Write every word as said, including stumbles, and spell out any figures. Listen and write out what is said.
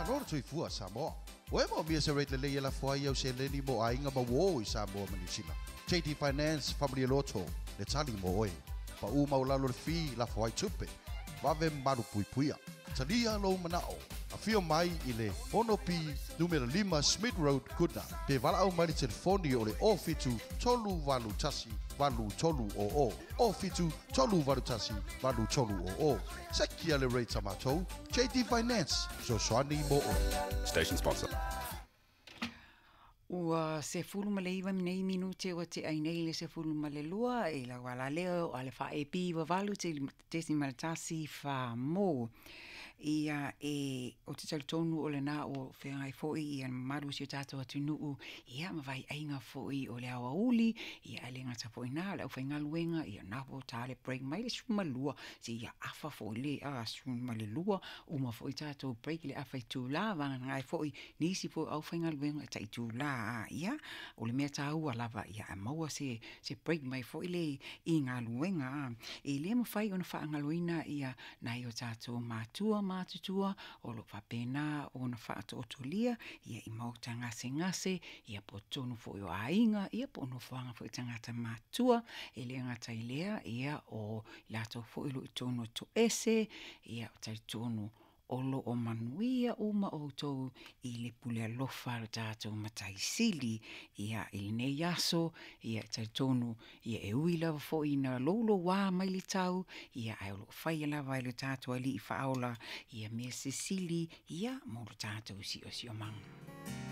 Malo le soifua Samoa. Ua e moomia se rate lelei e lafo ai au seleni mo aiga ma uō i Samoa ma Niu Sila? J D Finance Faamalie Loto le tali mo oe. Paʻū maualalo le fee lafo ai tupe. Vave malu puipuia. Talia lou manao. Afio mai i le ono P numera lima Smith Road, Goodna. Pe valaau mai le telefoni o le o fitu tolu valu tasi valu tolu o o. O fitu tolu valu tasi valu tolu o o. Sekia le rate a matou. J D Finance. Fesoasoani mo oe. Station sponsor. Ua sefulu ma le iva nei minute ua te ai nei le sefulu ma le lua e la wala leo a le fa e pi wa valu te tesi ma le tasi fa mo. Ia e o te talitonu o le nā o whengai foi ia mamalu si o tātou atunuu ia ma vai ainga foi o le awa uli ia ale ngata foi nā le au whaingaluenga ia nā po tā le break mai le suma lua si ia afa foi le a suma le lua uma foi tātou break le afa i tūlā vanga ngai foi nisi foi au whaingaluenga ta i tūlā ia o le mea tāua lava ia a maua se se break mai foi le i ngā luenga e le mawhai ona whaangaloina ia nai o tātou mātua mātutua o lo whapena o na whaatotolia ia i mauta ngase ngase ia po tonu foi o ainga ia po no whanga foi tangata mātua e le ngata i lea ia o lato foi lo i tonu to ese ia o tai tonu o lo o manuia uma o tau i le pule alofa le tātou mataisili ia i lenei aso ia tai tonu ia e ui lava foi na lolo wā mai le tau ia ai o lo whai lava i le tātou ali i whaola ia mea sisili ia mo le tātou si o si o manga.